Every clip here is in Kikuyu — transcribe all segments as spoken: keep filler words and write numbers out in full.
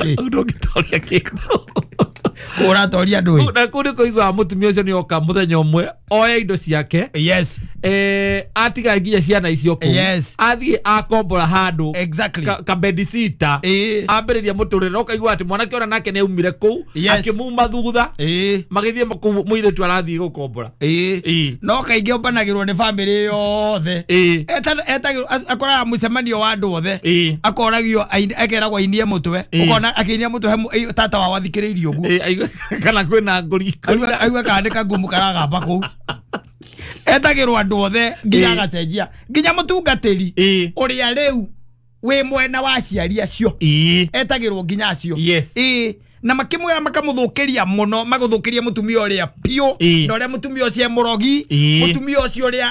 Ki ndũngĩtoria kĩndũ. Kũratoria ndũĩ. Na kũu nĩ kũiguaga mũtumia ũcio nĩ oka mũthenya ũmwe oya indo ciake. Yes. Eh, atiga nginya ciana icio kũu. Yes. Athiĩ akombora handũ. Exactly. Ka, ka bedsitter. Ĩĩ. Ambĩrĩria mũtũrĩre ũkaigua atĩ mwanake ona nake nĩ aumire kũu. Yes. Akĩmuma thutha. Ĩĩ. Magĩthiĩ kũu mũirĩtu arathiĩ gũkombora. Ĩĩ. Ĩĩ. No kaingĩ ũmbanagĩrwo nĩ bamĩrĩ yothe. Ĩĩ. Etagĩrwo akoraga mũcemanio wa andũ othe. Ĩĩ. Akoragio akeragwo ainie mũtwe. Ĩĩ. Ũkona akĩinia mũtwe he tata wao athikĩrĩirie ũguo. Ĩĩ, aigue kana kwĩna ngũri. Aigue kana nĩ kangumu karagamba kũu. Etagĩrwo andũ othe nginya Ĩĩ. agacenjia nginya mũtungatĩri Ĩĩ. ũrĩa rĩu wĩ mwena wa aciari acio. Ĩĩ. Etagĩrwo nginya acio. Yes. Ĩĩ. Na makĩmwĩra makamũthũkĩria mũno magũthũkĩria mũtumia ũrĩa piũ Ĩĩ. na ũrĩa mũtumia ũcio e mũrogi Ĩĩ. mũtumia ũcio ũrĩa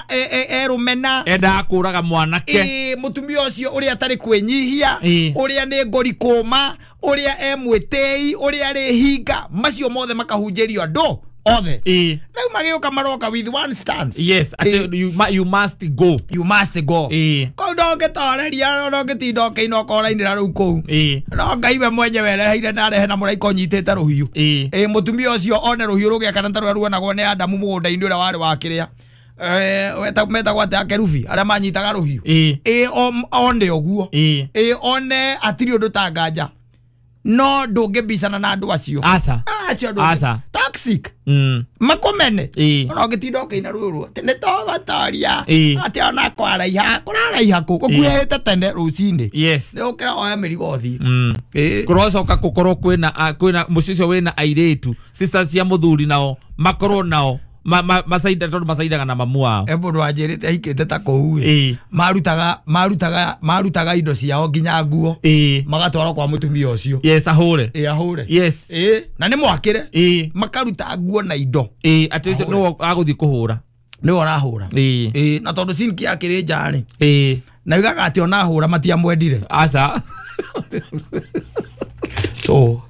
erũmena endaga kũraga mwanake. Ĩĩ, mũtumia ũcio ũrĩa atarĩ kwĩnyihia Ĩĩ. ũrĩa nĩ ngori kũma ũrĩa e mwĩtĩi ũrĩa arĩ hinga macio mothe makahunjĩrio andũ othe. Ĩĩ. Rĩu magĩũka maroka with one stance. Yes, atĩ you, you must go. You must go. Ĩĩ. Kũu ndũngĩtoreria ndũngĩtinda ũkĩina ũkorainĩra rĩu kũu. Ĩĩ. No Ngai we mwenyewe ereheire na arehe na mũraika ũnyitĩte rũhiũ. Ĩĩ. Ĩĩ, mũtumia ũcio one rũhiũ rũgĩakana ta rũrĩa ruonagwo nĩ Adamu mũgũnda-inĩ ũrĩa warĩ wa kĩrĩa. Eh, metagwo atĩa akerubi arĩa manyitaga rũhiũ. Ĩĩ. Ĩĩ, one ũguo. Ĩĩ. Ĩĩ, one hatirĩ ũndũ ta nganja. No ndũngĩbicana na andũ acio. Aca. Acio ndũngĩ. Aca. Toxic. Mm. Makomene. Ĩĩ. Ona ũngĩtinda ũkĩina rũrũ atĩ nĩ tũgũtoria. Ĩĩ. Atĩ ona kwaraiha kũraraiha kũ gũkuhĩte tene rũcinĩ. Yes. Nĩ ũkĩra woya mĩrigo ũthiĩ. Mm. Ĩĩ. Kũrocoka gũkorwo kwĩna kwĩna mũciĩ ũcio wĩna airĩtu sisters cia mũthuri nao makorwo nao ma, ma, macaida tondũ macaidaga na mamu wao. E mũndũ wanjĩrĩte ahikĩte ta kũu ĩ. Ĩĩ. Marutaga marutaga marutaga indo ciao nginya nguo. Ĩĩ. Magatwarwo kwa mũtumia ũcio. Yes, ahũre. Ĩĩ, ahũre. Yes. Ĩĩ, na nĩ mwakĩre. Ĩĩ. Makaruta nguo na indo. Ĩĩ, atĩ ũcio nĩwe agũthiĩ kũhũra. Nĩwe ũrahũra. Ĩĩ. Ĩĩ, na tondũ sinki akĩrĩ nja rĩ. Ĩĩ. Na yugaga atĩ ona ahũra matiamwendire. Aca. So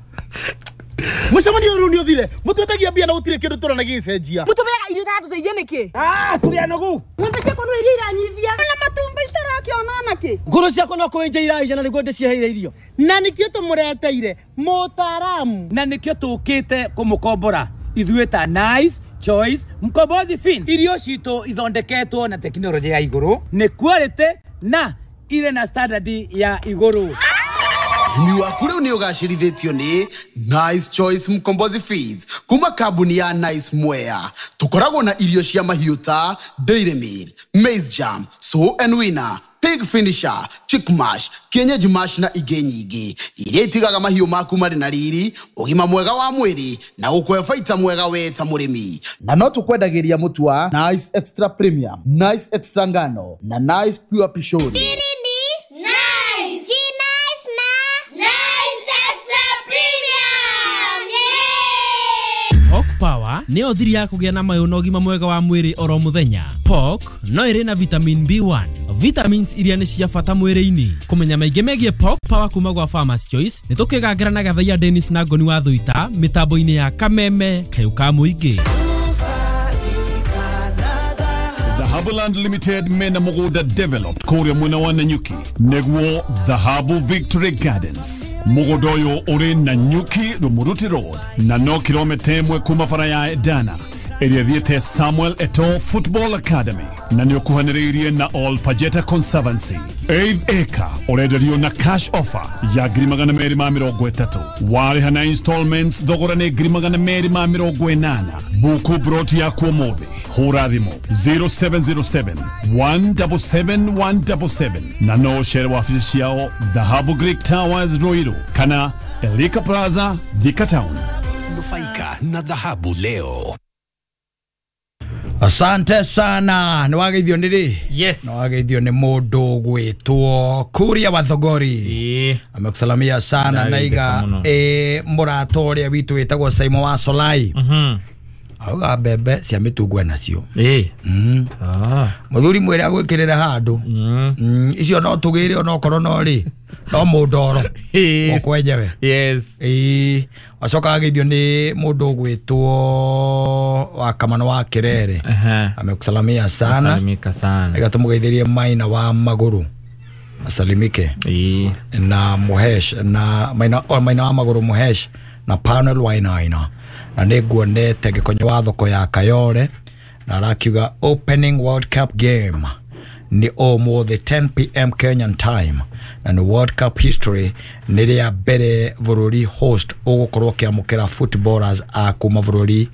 mucemanio rĩu nĩ ũthire mũtwetagia mbia na gũtirĩ kĩndũ tũrona gĩgĩcenjia. Mũtũmeaga irio itatũteithia nĩkĩ? Ah, tũrĩ anogu. Ng'ombe ciakwa no iria iranyivia na matumbĩ citarakĩona nakĩ. Ngũrũ ciakwa no kũenja iraija na nĩguo ndĩciheire irio. Na nĩkĩo tũmũreteire mũtaaramu. Na nĩkĩo tũkĩte kũmũkombora ithuĩ ta Nice Choice Mkombozi Fin. Irio citũ ithondeketwo na tekinoronjĩ ya igũrũ, nĩ quality na irĩ na standard ya igũrũ. Ũrĩmi waku rĩu nĩ ũgacĩrithĩtio nĩ Nice Choice Mkombozi Feeds kuma kambuni ya Nice Mwea. Tũkoragwo na irio cia mahiũ ta Dairy Meal, Maize Jam, Sow and Winner, Pig Finisher, Chick Mash, Kienyeji Mash na ingĩ nyingĩ iria itigaga mahiũ maku marĩ na riri, ũgima mwega wa mwĩrĩ na gũkũhe baita mwega we ta mũrĩmi. Na no tũkwendagĩria mũtu wa Nice Extra Premium, Nice Extra Ngano na Nice Pure Pishori. Power nĩyo thiri ya kũgĩa na mayũ na ũgima mwega wa mwĩrĩ oro mũthenya. Pork no ĩrĩ na vitamin B one, vitamins iria nĩ cia bata mwĩrĩ-inĩ. Kũmenya maingĩ megiĩ Pork Power kuma gwa Farmers Choice nĩ tũkĩgangĩra na Gathaiya Dennis na Ngoni wa Thuita mĩtambo-inĩ ya Kameme kayũ ka mũingĩ. Dhahabuland Limited mena mũgũnda developed kũrĩa mwena wa Nanyuki nĩguo Dhahabu Victory Gardens. Mũgũnda ũyũ ũrĩ Nanyuki Rumuruti Road na no kilomita ĩmwe kuma bara ya Edana ĩrĩa ĩthiĩte Samuel Eto'o Football Academy na nĩ ũkuhanĩrĩirie na All Pajeta Conservancy. Eighth acre ũrenderio na cash offer ya ngiri magana merĩ ma mĩrongo ĩtatũ. Warĩha na installments thogora nĩ ngiri magana merĩ ma mĩrongo ĩnana. Buku broti yaku ũmũthĩ. Hũra thimũ zero seven zero seven one seven seven one seven seven na no ũcere wabici ciao Dhahabu Greek Towers Ruiru kana Elika Plaza Thika Town. Nufaika na dhahabu leo. Asante sana. Nĩ wageithio nĩ rĩ? Yes. Nĩ wageithio nĩ mũndũ gwĩtwo Kuria wa Thogori. Ĩĩ. Amekusalamia sana naiga ĩ mũrata ũrĩa witũ wĩtagwo Saimo wa Solai. Mhm. Auga mbembe cia mĩtungo nacio. Ĩĩ. Mm. Ah. Mũthuri mwĩre agwĩkĩrĩre handũ. Mm. Mm. Icio no tũgĩre onokorwo no rĩ. No mũndoro. Ĩĩ. Mũkwenjewe. Yes. Ĩĩ. Wacoka ageithio nĩ mũndũ ũgwĩtwo wa Kamano wa Kerere. Aha. Amekusalamia sana. Salimika sana. Ega tũmũgeithĩrie Maina wa Magũrũ. Asalimike Ĩĩ. Na Muhesh na maina o maina wa magũrũ Muhesh na Panel Wainaina na nĩ nguonete gĩkonyo wa thoko ya Kayore na arakiuga opening World Cup game nĩ ũmũthĩ ten p m Kenyan time na nĩ World Cup history nĩ rĩa mbere bũrũri host ũgũkorwo ũkĩamũkĩra footballers a kuma bũrũri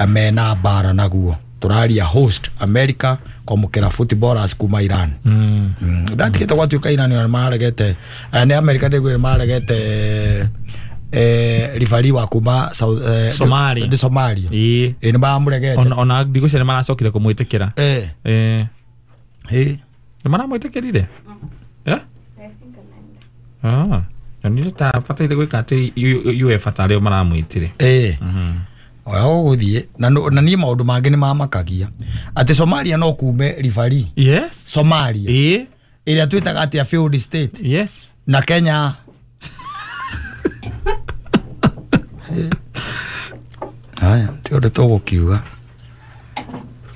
mena mbara naguo tũraria host America kwamũkĩra footballers kuma Iran. Mm. Mm. Ndatigĩte gwatuĩka Iran ona nĩmararegete nĩ America ndĩguo nĩmararegete eh rifari wa kuma South eh, Somalia. Nĩ Somalia. Ĩĩ. Ĩ nĩmaramũregete. Ona ona ndigũcia nĩmaracokire kũmwĩtĩkĩra. Eh. Eh. Ĩ. Nĩmaramwĩtĩkĩrire? Yeah? Ah. Nĩ ta bataire gwĩka atĩ UEFA tarĩo maramwĩtire. Eh. Oya ũgũthiĩ na na niĩ maũndũ mangĩ nĩ mamakagia atĩ Somalia no kume rifari. Yes. Somalia. Ĩ. Ĩrĩa twĩtaga atĩa failed state. Yes. Na Kenya. Haya, ti ũndũ tũgũkiuga.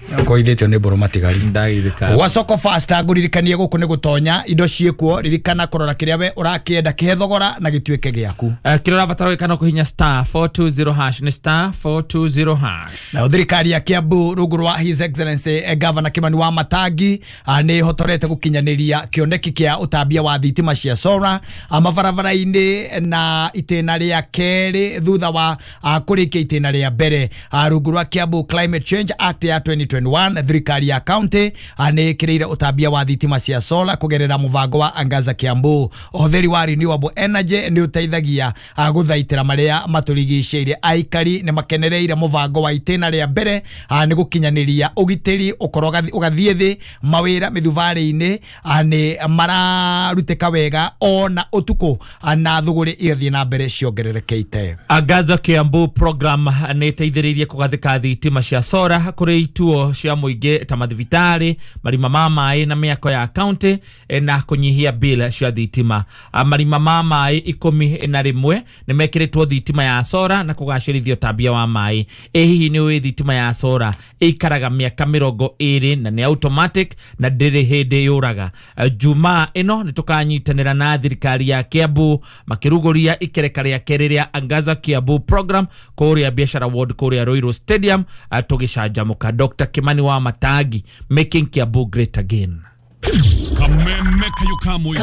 Ngoithĩtio nĩ mbũrũ matigari. Ndagithĩka. Gwa Soko Fast ngũririkanie gũkũ nĩ gũtonya indo ciĩkuo ririkana kũrora kĩrĩa we ũrakĩenda kĩhe thogora na gĩtuĩke gĩaku. Uh, kĩrĩa ũrabatara gwĩka no kũhihinya star four two zero hash nĩ star four two zero hash. Nayo thirikari ya Kiambu rungu rwa His Excellency eh, Governor Kimani wa Matangi nĩ ĩhotorete gũkinyanĩria kĩoneki kĩa ũtambia wa thitima cia solar mabarabara-inĩ na itĩna rĩa kerĩ thutha wa kũrĩkia itĩna rĩa mbere rungu rwa Kiambu Climate Change Act ya twenty twenty-one thirikari ya county nĩ ĩkĩrĩire ũtambia wa thitima cia solar kũgerera mũbango wa Angaza Kiambu. Ũhũthĩri wa renewable energy nĩ ũteithagia gũthaitĩra marĩa matũrigicĩirie. Aikari nĩ makenereire mũbango wa itĩna rĩa mbere nĩ gũkinyanĩria ũgitĩri ũkorwo ũgathiĩ thĩ mawĩra mĩthubarĩ-inĩ nĩ mararutĩka wega ona ũtukũ na thũgũrĩ igathiĩ na mbere ciongererekete. Angaza Kiambu program nĩ ĩteithĩrĩirie kũgathĩka thitima cia solar kũrĩ ituo cia mũingĩ ta mathibitarĩ, marima ma maĩ na mĩako ya county na kũnyihia bill cia thitima. Marima ma maĩ ikũmi na rĩmwe nĩ mekĩrĩtwo thitima ya solar na kũgacĩrithia ũtambia wa maĩ. Ĩ hihi nĩ ũĩ thitima ya solar ĩikaraga mĩaka mĩrongo ĩrĩ na nĩ automatic na ndĩrĩ hĩndĩ yũraga. Jumaa ĩno nĩ tũkanyitanĩra na thirikari ya Kiambu makĩrugũria ikereka rĩa kerĩ rĩa Angaza Kiambu program kũrĩa Biashara Ward kũrĩa Ruiru Stadium tũgĩcanjamũka. Doctor Kimani wa Matangi, making Kiambu great again. Kameme kayo kamwe.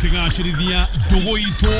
Tukigacĩrithia ndũgũ itũ.